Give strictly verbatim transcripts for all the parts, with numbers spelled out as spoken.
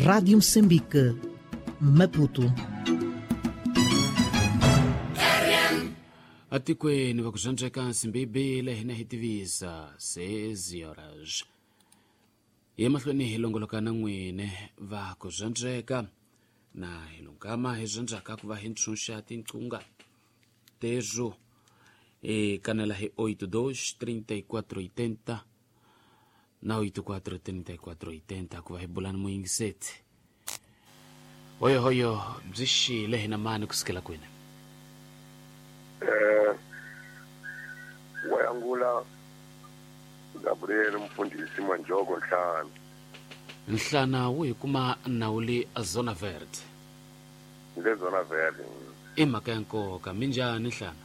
Rádio Moçambique, Maputo. Atikweni va ku zwandzeka nsimbibile hina hi tivisa sezi horas hi mahlweni hi longoloka na n'wine va ku zwandzeka na hi lungama hi zwandzaka ku va hi ntshunxa tinqunga tezo e kanela hi oito dois trinta e quatro oitenta na oito quatro trinta e quatro oitenta ku va hi bulani muyingiseti hoyohoyo byi xile hina mani kusukela kwini. Eh, wayangula Gabriel mfundisi Manjoko Nhlana. Nhlana wu hi kuma nawuli Zona Verde. Le Zona Verde. I mhaka ya nkoka minjhani Nhlana?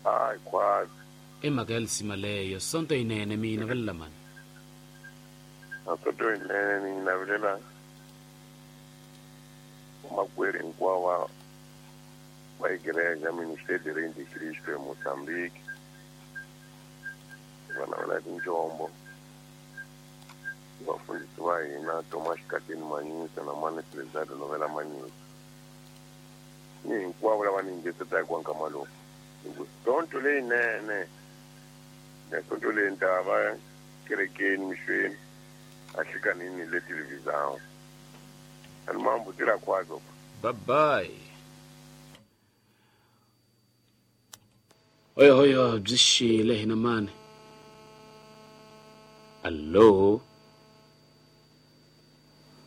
Hayi khwazi. I mhaka ya lisima leyo sonto yinene mi yi navelela mani? Sonto yinene ni yi navelela vamakwerhu hinkwavo va igreja Ministério de Reino de Cristo em Moçambique, vana va tinjombo, vafundhisi va hina Thomas Katini Manyisa na Mani Tresado Novela Manyisa, ni hinkwavo lava ni yingisetaka kwa nkama lowu. Sonto leyinene na sonto leyi ni ta va kerekeni mixweni a hlikanini le televisão. Ani mambo tira kwazo. Bye bye. Hoyo hoyo byi xile hina mani. Allo,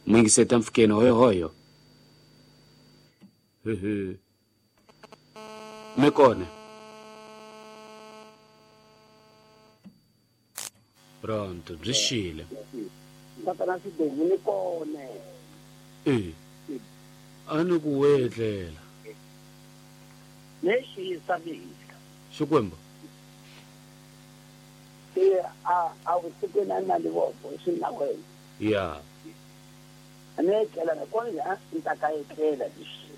muyingiseta mpfukeni hoyo hoyo. Hehe, mi kona? Pronto, byi xile. Tatana Sidovu ni kona. E a ni ku wetlela lexi mina. Xikwembu se a a vusikwini a ni na livoko swi na wena ya a ni etlela na kona ni ta ka etlela lexi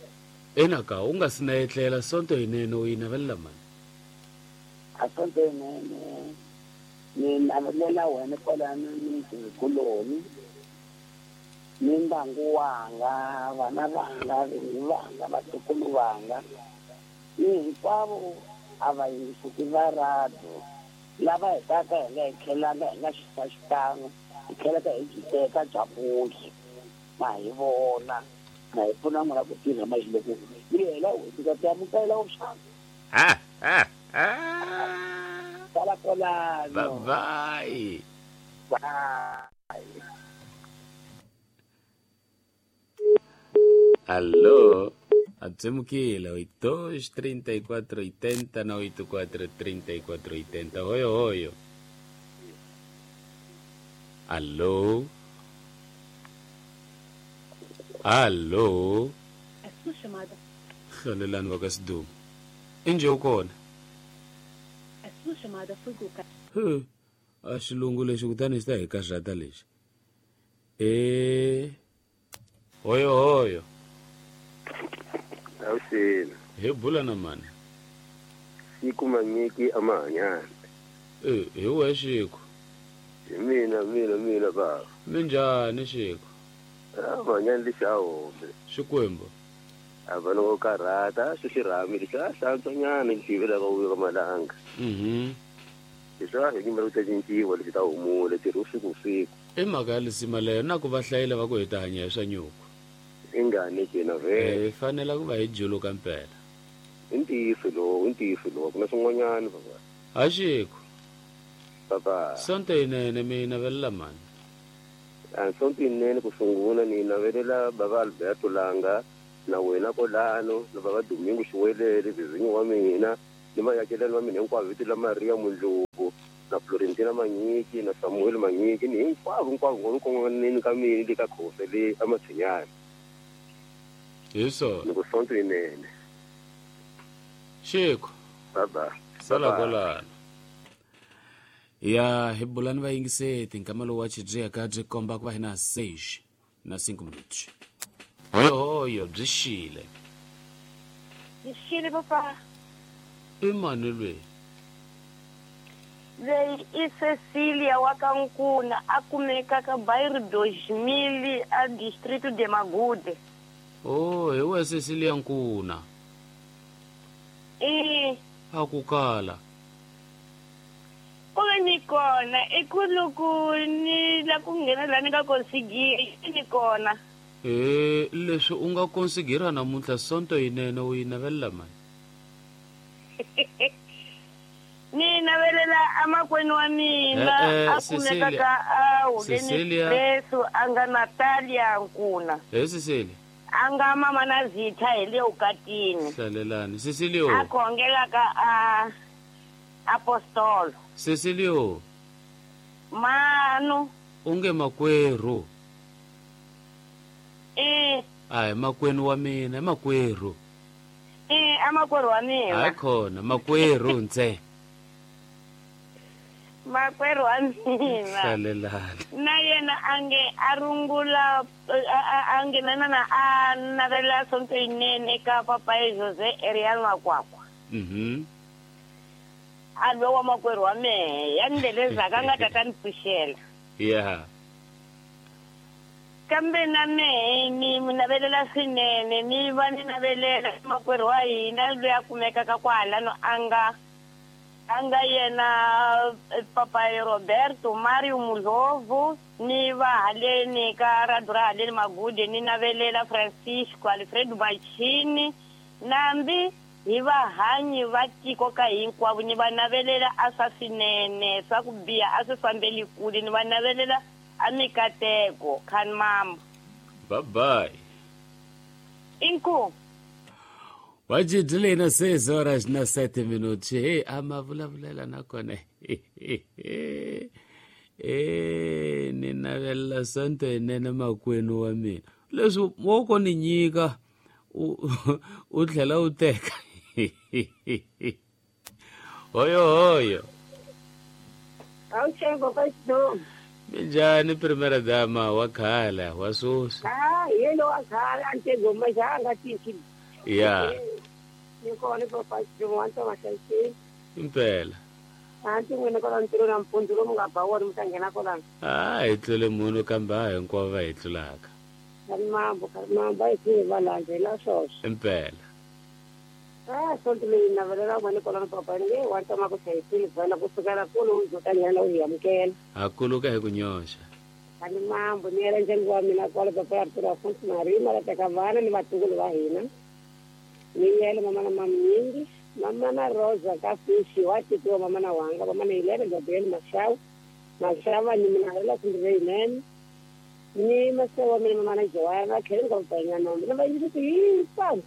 enaka u nga si na etlela sonto yinene u yi navelela mani? A sonto yinene ni navelela wena kwalano ni kuloni ni ndyangu wanga vana vanga vinyi vanga vatukulu vanga ni hinkwavo a va yingiseki va radio lava hetaka hi nga hi tlhelanga hi nga xisa xikan'we hi tlhelaka hi byi teka bya vuyi ma hi vona na hi pfuna n'wina ku tirha maxiloko yi hela n'hweti ka ti amukela vuxaka. Sala kwalano. Bye bye. Bye. Alô, Atsemukile, oito dois trinta e quatro oitenta na oito quatro trinta e quatro oitenta. Hoyo hoyo. Alô. Alô. A sua chamada. Hlalelani vakasidumo. Inje ukona? A sua chamada foi colocada. He, a xilungu lexi kutani xi ta hi karhata lexi. E hoyo hoyo. Awusile. Hi bula na mani? Siku Manyiki amahanyana. E hi wehe Xiku. Hi mina mina mina baba. Minjhani Xiku? Ah, mahanyana lexi a home. Xikwembu. A va no karhata swi xirhami lexi a hlantswanyana lexi yivelaka vuyo ka malanga. Mhm. Leswi a hi nyimela ku ta cinciwa lexi ta humula tirhi usiku usiku. I mhaka ya lisima leyo na ku va hlayela va ku hi ta hanya hi swa nyuku. Ingani jena vele. Hi fanela ku va hi juluka mpela. I ntiyiso lowu, i ntiyiso lowu, ku na swin'wanyana baba. Ha Xiku. Baba. Sonto yinene mi yi navelela mani? A sonto yinene ku sungula ni yi navelela baba Alberto Langa na wena kolano na baba Domingo Xiwelele vizinyo wa mina ni mayakelani wa mina hinkwavo vito la Maria Mundluku na Florentina Manyiki na Samuel Manyiki ni hinkwavo hinkwavo kongoneni ka mina le ka Khofe le amatshinyana. Hi swona. Ni ku sonto yinene. Xiku. Baba. Sala kwalano. Ya hi bulani vayingiseti nkama lowu wa xidziyaka byi komba ku va hi na seis na cinco minutos. Hoyo hoyo byi xile. Byi xile papa. I mani lweyi? Leyi i Cecilia wa ka Nkuna a kumeka ka bairro dois mil a distrito de Magude. Oh, hi we Cecilia Nkuna. E a ku kala. Ku ve ni kona i ku loko ni la ku nghena la ni nga konsigira ni kona. E leswi u nga konsigira namuntlha sonto yinene u yi navelela mani? Ni navelela amakwenu wa mina a kumeka ka a Huleni Expresso a nga Natalia Nkuna. He Cecilia. A nga mama na Zitha hi le ukatini. Hlalelani Cecilio. A khongela ka a Apostolo. Cecilio. Manu. Unge makwerhu. Eh. Ai makwenu wa mina, makwerhu. Eh, amakwerhu wa mina. Hayi khona, makwerhu ntse. Makwerhu wa mina. Hlalelani. Na yena ange a rungula a nge na na a navela sonto yinene ka papa Jose Ariel Makwakwa. Mhm. A lowa makwerhu wa mehe ya ndelezaka nga tata ni pfuxela. Yeah. Kambe na mehe ni mi navelela swinene ni va ni navelela makwerhu wa hina loyi a kumekaka kwalano a nga a nga yena papa Roberto Mario Mulovu ni va haleni ka radio ra haleni Magude ni navelela Francisco Alfredo Machini nambi hi vahanyi va tiko ka hinkwavo ni va navelela a swa swinene swa ku biha a swi fambeli kule ni va navelela a mikateko khan mama. Bye bye. Inkomu. Wajidile na seis horas na sete minutos. Hey, ama vulavulela nakona. Eh, ni navelela sonto yinene makwenu wa mina. Leswi wo ko ni nyika u u tlhela u teka. Hoyo hoyo. Awutshengo ka Minjhani primera dama wa khala wa sweswi? Ah, yelo wa khala a ntego majanga tiki. Yeah. Ni kona papa Xidongo wa Maxaxini. Impela. A ndzi n'wina kwala ntirho nampundzu lomu nga ba wona mi ta nghena kwalano. Ah, hi tlule munhu kambe a hinkwavo va hi tlulaka. Karimambo, karimambo a hi tluli va landzela swoswo. Impela. Ah, sonto leyi navelela n'wina kwalano papa ni nge wa tama ku hlayisile vana kusukela kulu u ta nghena u hi amukela. Ha kuluka hi ku nyoxa. Karimambo ni yela ndyangu wa mina kwala papa ya Arturo Afonso Marima la teka vana ni vatukulu va hina. Ni yele mama na maminyingi mama na Rosa ka fishi wa titiwa mama na wanga mama na Helena Gabriel Mashau Mashava ni mina hela kundire ni masewa mina mama na Joana khele ka mpanya nombe na va yisi hinkwavo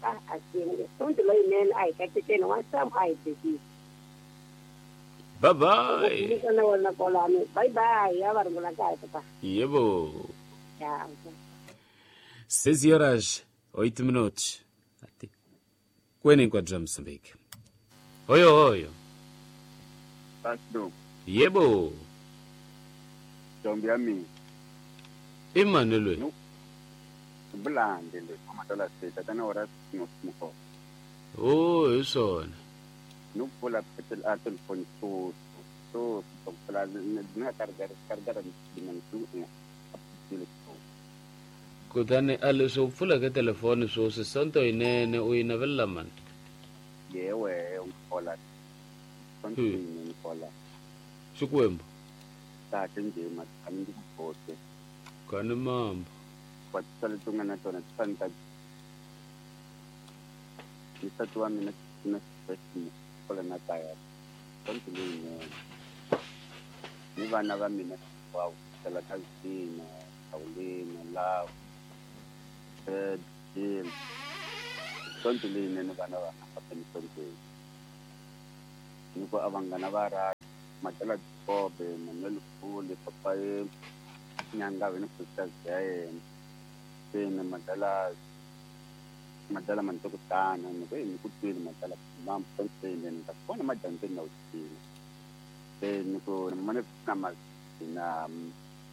a a singwe sonto loyinene a hi katekeni wa sam a hi tekisi. Bye bye. Kana wona kolani bye bye ya va rungula kahle papa. Yebo. Tchau. seis horas oito minutos. Kwene enquadro já Moçambique. Oi, oi. Pastor. Yebo. Ntombi yami. Emmanuel. Bulande le amatala seta tana ora simo. Oh, isona. Nupula petel atel phone so so pula na targar targar dimantu. Kutani a leswi u pfuleke telefoni sweswi sonto yinene u yi navelela mani? Yewe ngikhola. Sonto yinene ngikhola. Xikwembu. Kahle nje mathami ndikubhote. Kani mambo. Kwa tsale tunga na tona tsanta. Nisatu wa mina na stress kola na taya. Sonto yinene. Ni vana va mina wa tsala ka zina, Paulina, Love. Ed, sonto leyinene vana va nga sontweni ni ku a vanghana va ra Matela Kobe Manuel Fule papa ye Nyangave ni sisters ya yena se ni Matela Matela Mantokutana ni ku ni ku twile Matela mam sontweni ni ta kona madyambyeni na wutsini se ni ku mana na ma na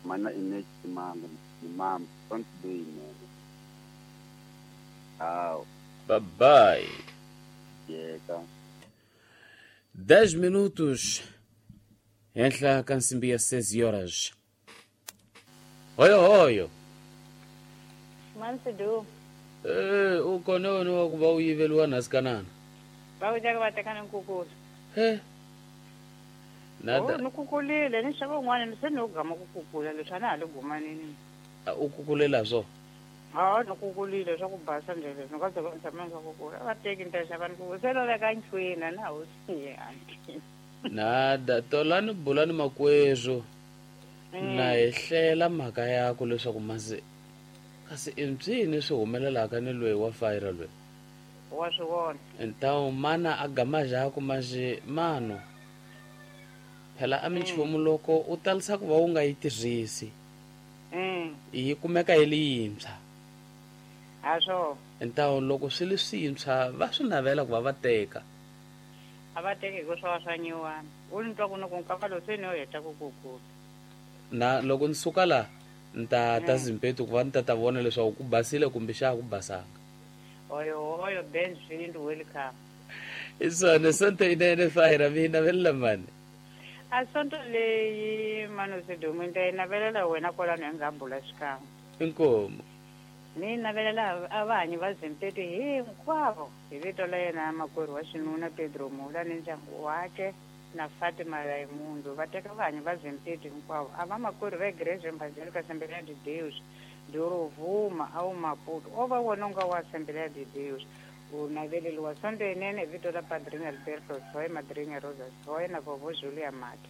mana inechi mango ni mam sonto leyinene. Tchau. Bye bye. Yeah, Dez minutos Henhla ka nsimbi ya seis horas. Hoyo hoyo. Mansidu. Eh, u kona wena wa ku va u yiveliwa nhasikanana. Va ku teka va teka ni nkukulu. He. Nada. Ni kukulile ni xava un'wana ni se ni gama ku kukula leswi a na ha le gumanini. U kukulela swo? Ha ni kukulile swa ku basa ndlela ni ka va tshama swa kukula. Va teki ni ta xava ni kukula se loveka nchwini a na ha wu siyangi. Nada tolani bulani makwezwo. Na hi hlela mhaka yakho leswaku masi kasi i mpyini swi humelelaka ni loyi wa fayira loyi. Wa swi vona. Ntawu mana a gama jaku maje mano. Phela a minchumu loko u talisa ku va u nga yi tirhisi. Mm. Yi kumeka yi li yintshwa. Ha swo. Ntawu loko swi li swintshwa va swi navela ku va va teka. A va teki hi ku swa swa nyiwana. U ni twa ku ni ku nkava lowu se ni yo heta ku kukula. Na loko ni suka la ni ta ta Zimpetu ku va ni ta ta vona leswaku ku basile kumbe xa ku basanga. Oyo oyo Ben Swindu welcome. Isona sonto inene fayira mi navelela mani. A sonto leyi mano sidumu ni ta yi navelela wena kwalano hi nga bula xikan'we. Inkomu. Ni navelela a vahanyi va Zimpetu hinkwavo hi vito la yena makwerhu wa xinuna Pedro Mula ni ndyangu wakhe na Fatima Raimundo va teka vahanyi va Zimpetu hinkwavo a va makwerhu va Igreja Evangélica Assembleia de Deus de Rovuma ao Maputo o va wona nga wa Assembleia de Deus u naveleliwa sonto yinene hi vito la Padrinho Alberto Soy Madrinha Rosa Soy na Vovo Julia Mati.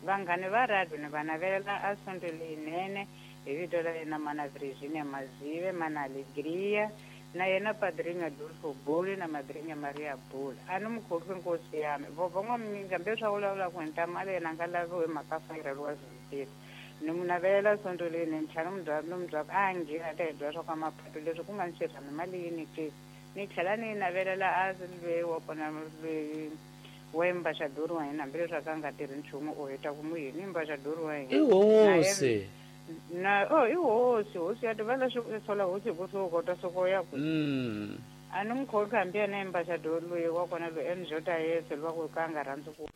Vanghani va radio ni va navelela a sonto leyinene hi vito la yena mana Virginia Mazive mana Alegria na yena Padrinho Adolfo Buli na Madrinha Maria Buli. A ni mukhosi nkosi ya mi vovo n'waminga mbe swa vulavula ku henta mali yena nga laviwi mhaka fayireliwa Zimpetu. Ni mu navelela sonto leyinene ni tlhela ni mu byela ku a nghena ta hi byela swa ka mapatu leswi ku nga ni xirhami mali yini ke. Ni tlhela ni navelela a loyi wa kona loyi wa embaxador wa hina hambileswi a ka nga tirhi nchumu u heta ku mu yini embaxador wa hina. I hosi. Na oh i hosi hosi ya tiva leswi sola hosi hi ku swi kota soko ya ku. Mm. A ni n'wi khomi hambi yena embaxador loyi wa kona loyi M J Yesu loyi wa ku ka a nga rhandzi ku